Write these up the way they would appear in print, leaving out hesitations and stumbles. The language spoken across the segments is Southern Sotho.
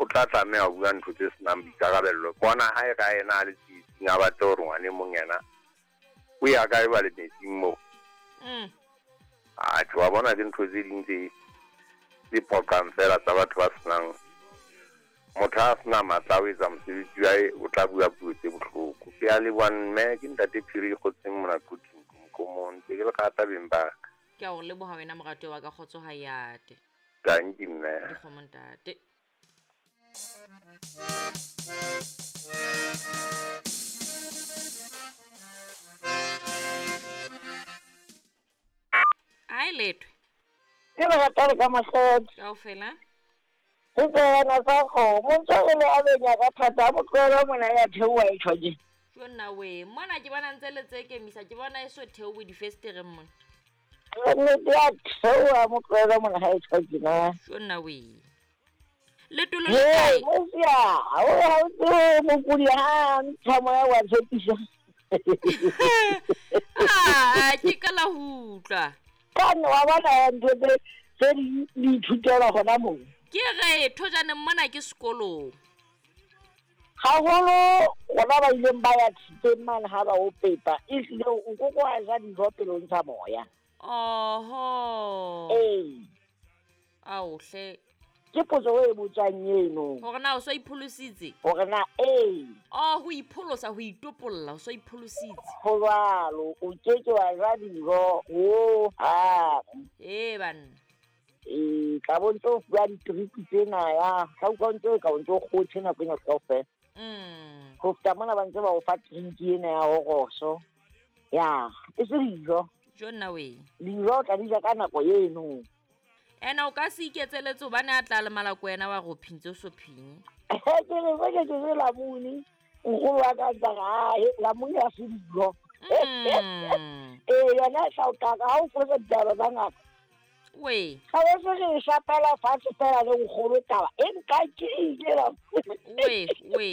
tla tlameha ho bua ntho tse senang boikarabello. Bona ha e ka yena a le tsietsing a batle hore ngwane mong yena o ya kae ba le metsing moo. Atjhe, wa bona ke ntho tse ding tse tse phoqang fela tsa batho ba senang motho a sena matla a ho etsa mosebetsi wa hae, o tla bua puo tse bohloko. Ke a leboha mme, ke ntate Phiri Kgotseng mona Quthing Komong. Ntse ke le rata beng ba ka. Ke a o leboha wena moratuwa wa ka, kgotso ha e ate. Tanki mme. Dikgomo ntate. Ai lethwe. Ke le rata le ka mahloko. Kaofela. Go tsena tsa kgomo ntse o le a benya ka thata a motlohela mona ya theoha e tjho ke. Jo nna we, mona ke bona ntse le tse kemisa ke bona e so theowe difestereng mona. Nnete ya theoha motlohela mona ha e tjho ke na. Jo nna we. Letolo le kae? Mosia, o ha o tsebe mokudi ha ntsha moya wa tshepisa. Ah, ke ka la ho utlwa. Kane wa bona ya ntho tse tse di di ithutela gona moo. Ke re thojaneng mona ke sekolong. Haholo rona ba ileng ba ya thiteng mane ha ba o pepa, ehlile o koko wa ja dijo pele o ntsha moya. Oho. Ee. Ao hle. Ke potso e botswang eno. Hore na o so ipholositse? Hore na ee. Oh, ho ipholosa, ho itopolla, o so ipholositse. Ho jwalo, o ke ke wa ja dijo ho hang. Ee banna. Ee, tla bo ntse o fuwa ditripi tsena ya, tla utlwa ntse o ka o ntse o kgothe nako ena kaofela. Ho feta mona ba ntse ba o fa trinki ena ya horoso. Ya, e se dijo. Jo nna we. Dijo o tla di ja ka nako eno. Ena o ka se iketseletse hobane a tla lemala ko wena wa re o phintse o so phinye. Ke re se ke ke lamune. Nkgono wa ka ntse a re, lamune ha se dijo. Ee, yona e tla o qaka ha o fosa ditaba tsa ngaka. We. Ga ba se re shapela fatshe fela le nkgono taba e nkakile la. We, we.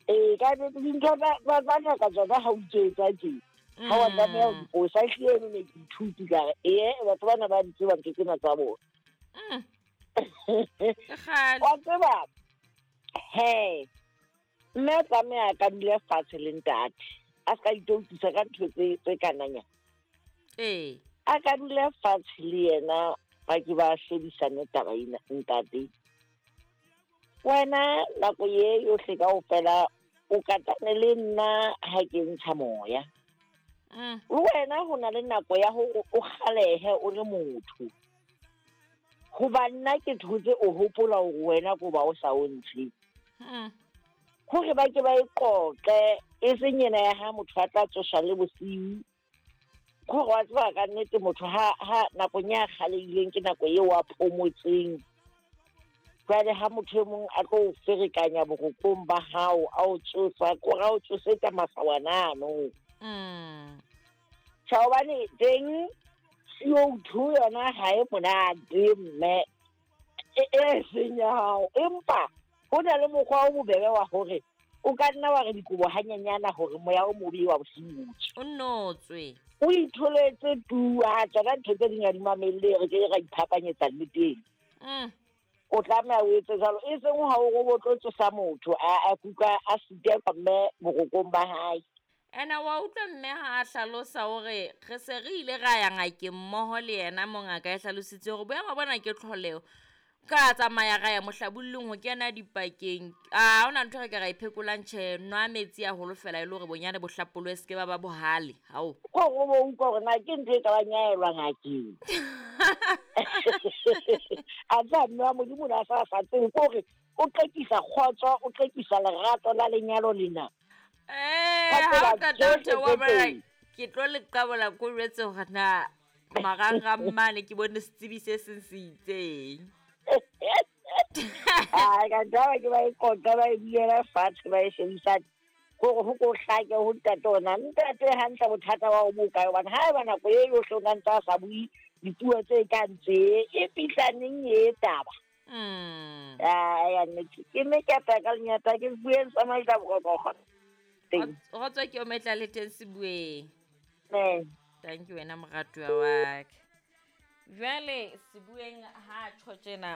Ee, ka nnete dintho tsa ngaka tsona ha o itse tje. Ha wa tlameha ho di fosa, ehlile eno ne ke ithuti ka re, ee, batho bana ba di tseba ntho tsena tsa bona. Ke kgale. Wa tseba, he, mme a tlameha a ka dula fatshe le ntate. A se ka itoutisa ka ntho tse kananya. Ee. A ka dula fatshe le yena ba ke ba shebisane taba ena ntate. Wena nako ye yohle kaofela o katane le nna ha ke ntsha moya. Le wena ho na le nako ya hore o kgalehe o le motho. Hoba nna ke thotse o hopola hore wena ko ba o sa o ntshe. Hore ba ke ba e qoqe e seng yena ya ha motho a tla tsosa le bosiu. Hore wa tseba ka nnete motho ha nakong ya kgalehileng ke nako eo a phomotseng. Jwale ha motho e mong a tlo o ferekanya borokong ba hao, a o tsosa, kore a o tsosetsa masawana ano. Tjha, hobane teng CO2 yona ha e monate mme e seng ya hao. Empa ho na le mokgwa o bobebe wa hore o ka nna wa re dikobo hanyenyana hore moya o mobe wa bosiu o tswe. O nnotswe. O itholetse tu, ha tsona ntho tse ding ha di mamelle, re ke ra iphapanyetsa nneteng. O tlameha o etse jwalo, e seng ha o re o tlo tsosa motho a kuka a sitelwa mme borokong ba hae. Ena wa utlwa mme ha a hlalosa hore re se re ile ra ya ngakeng mmoho le yena mo ngaka e hlalositse hore boemo bona ke tlholeho. Ka tsamaya ra ya mohlabullong ho kena dipakeng. A hona ntho re ka ra e phekolang tjhe, nwa metsi haholo fela e le hore bonyane bo hlapolwe se ke ba ba bohale. Hao. Ko go bo utlwa hore na ke ntho e ka bang ya elwa ngakeng. A tsa mme wa Modimo o ne a sa sa tsebe ke hore o qekisa kgotso, o qekisa lerato la lenyalo lena. Eh, ha o qeta ho theoha mona, ke tlo le qabola ko jwetse hore na marangrang mane ke bone setsebi se seng se itseng. Ai, ka ntaba ke ba e qoqa, ba e bulela fatshe, ba e shebisane. Hore ho ko hlake ho ntate ona. Ntate hantle bothata ba o bo kae, hobane ha eba nako e yohle o na ntse a sa bue dipuo tse kang tse, e fihla neng e taba? Ai, ya nnete. Ke mme ke apaya ka lenyata, ke bueng sa maitla boroko. Teng. Kgotso ke o metla le teng Sebueng. Amen. Thank you wena moratuwa wa ka. Jwale Sebueng ha tjho tjena.